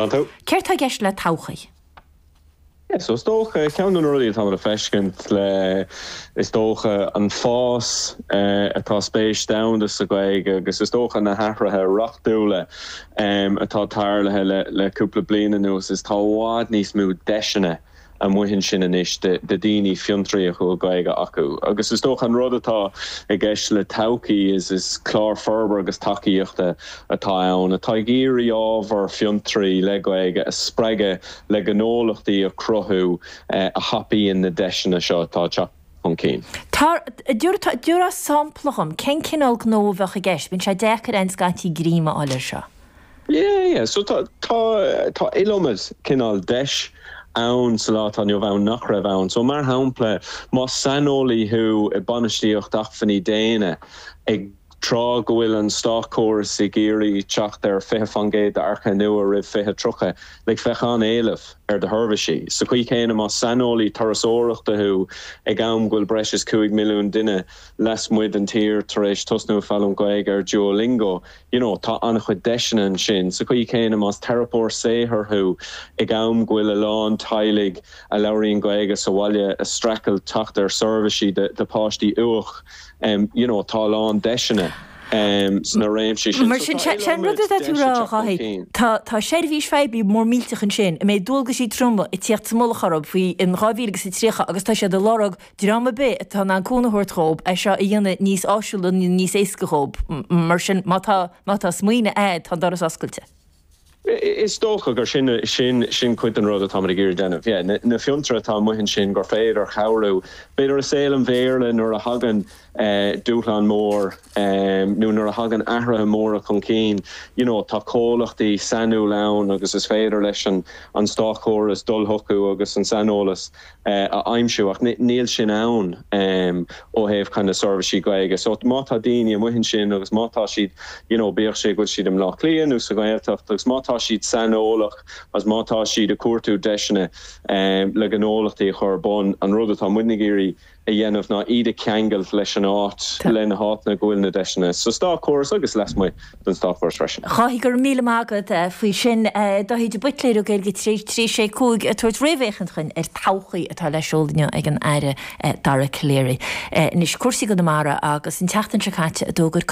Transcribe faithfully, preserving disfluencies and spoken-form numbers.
Céard tá i gceist le todhchaí? Yeah, so is dócha ceann de na rudaí atá le feiscint le is dócha an fás uh, atá spéis domhanda sa Ghaeilge agus is dócha na hathruithe reachtúla um, atá tarlaithe le, le cúpla bliain anuas is tá i bhfad níos mó deiseanna amuigh ansin anois de, de daoine fiontraíoch a bhfuil Gaeilge acu. Agus is dócha an rud atá i gceist le todhchaí is is clár forbartha agus tacaíochta atá ann, atá ag iarraidh ábhar fiontraí le Gaeilge a spreagadh le gnólachtaí a chruthú eh, a thapaíonn na deiseanna seo atá teacht chun cinn. Tabhair sampla dhom, cén cineál gnó a bheadh i gceist, bíonn sé deacair an scaití greim a fháil air seo. Yeah, yeah. So tá tá tá iliomad cineál deis ann sa lá atá inniu ann nach raibh ann. So mar shampla má saineolaí thú i bainistíocht acmhainní daonna ag tráth go bhfuil an státchóras ag iarraidh teacht ar fiche faoin gcéad d'earcaithe nua roimh fiche tríocha, le bheadh an-éileamh ar do sheirbhísí. Sa chaoi chéanna má saineolaí turasóireachta thú ag am go bhfuil breis is cúig milliún duine lasmuigh den tír tar éis tosnú ag foghlaim Gaeilge ar Duolingo, you know, tá an-chuid deiseanna ansin. Sa chaoi chéanna más teiripeoir saothair thú ag am go bhfuil a lán teaghlaigh a labhraíonn Gaeilge sa bhaile ag streachailt teacht ar seirbhísí de, de páistí uach, um, you know, tá a lán deiseanna. Um, sna réimsí sin. Mar sin sin rud atá tú rá Dháithí Tá tá seirbhís phoiblí mór millteach ansin, a mbeidh dualgaisí troma ag tíocht sa mullach orthu faoi in dhá mhíle agus a tríocha agus tá siad ag lorg dream ar bith atá in ann cúnamh a thabhairt dhóibh é seo a dhéanamh níos áisiúla níos éasca dhóibh mar sin má tá má tá smaoineamh agat tá an doras oscailte. Is dócha gur sin sin sin cuid den rud atá ag iarraidh déanamh. Yeah, na, na fiontraithe atá amuigh ansin gur féidir cabhrú. B'fhéidir i saol an Bhéarla nuair a thagann eh, dúshlán mór um, nó nuair a thagann athruithe móra chun cinn, you know, tá comhlachtaí sainiúla ann agus is féidir leis an an státchóras dul chucu agus an saineolas uh, a aimsiú ach níl sin ann um, ó thaobh kind of seirbhísí Gaeilge. So má tá daoine amuigh ansin agus má tá siad you know, bíodh sé go bhfuil siad i mBleá Cliath nó sa Ghaeltacht agus má tá siad saineolach agus má tá siad ag cuartú deiseanna um, le gnólachtaí a chur ar bun an rud atá muid ag iarraidh a dhéanamh ná iad a cheangal leis an áit le na háiteanna go bhfuil na deiseanna. So státchóras agus lasmuigh den státchóras freisin. Dháithí go raibh míle maith agat eh, faoi sin eh, Dáithí de Buitléir ó Gaeilge trí trí sé cúig ag tabhairt réamhfhéachaint dúinn ar todhchaí atá le seoladh ag an Aire eh, Dara Calleary. Anois cúrsaí Chonamara agus an tseachtain seo caite a d'fhógair